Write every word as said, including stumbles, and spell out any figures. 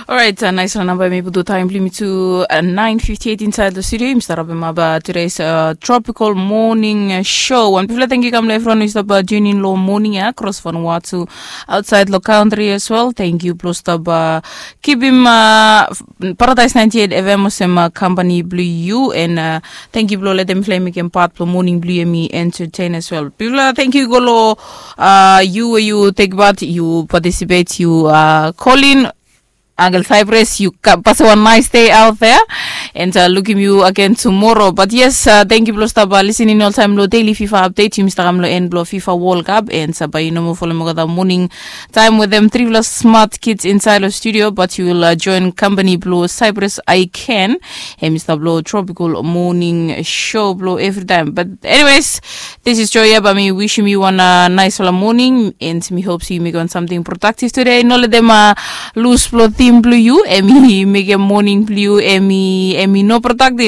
Orait, nais long namba em i putu taim bilong yumi tu nain fifti eit insaid long studio. Yumi stap rabem aba today's tropical morning show. Wan bifala thank you kam long evriwan yu stap tunin long morning ya kros vanua tu, ausait long kantri as well. Thank you bilong stap kipim paradais ninety eight fm olsem kampani bilong yu and thank you bilong letem mifala i mekim pat bilong morning bilong yu em i entertain as well. Bifala thank you go long yu we yu tek pat, yu participate, yu kolin Uncle Cyprus, yu pasim wan nice day out there. And uh, lukim yu again tomorrow. But yes, uh, thank you bilong stap uh, listening all time lo daily fifa update. Yumi stap kam lo en bilong fifa world cup and uh, bai yu no mo follow me go the morning time with them three plus smart kids inside of studio, but you will uh, join company bilong Cyprus I can. Em i stap lo tropical morning show bilong every time. But anyways, this is Joya, bai mi wishim yu wan uh, nice fala morning and mi hope so yu make wan something productive today. No let them uh, lose bilong tim bilong yu, em i mekim morning bilong yu em i em i no productive.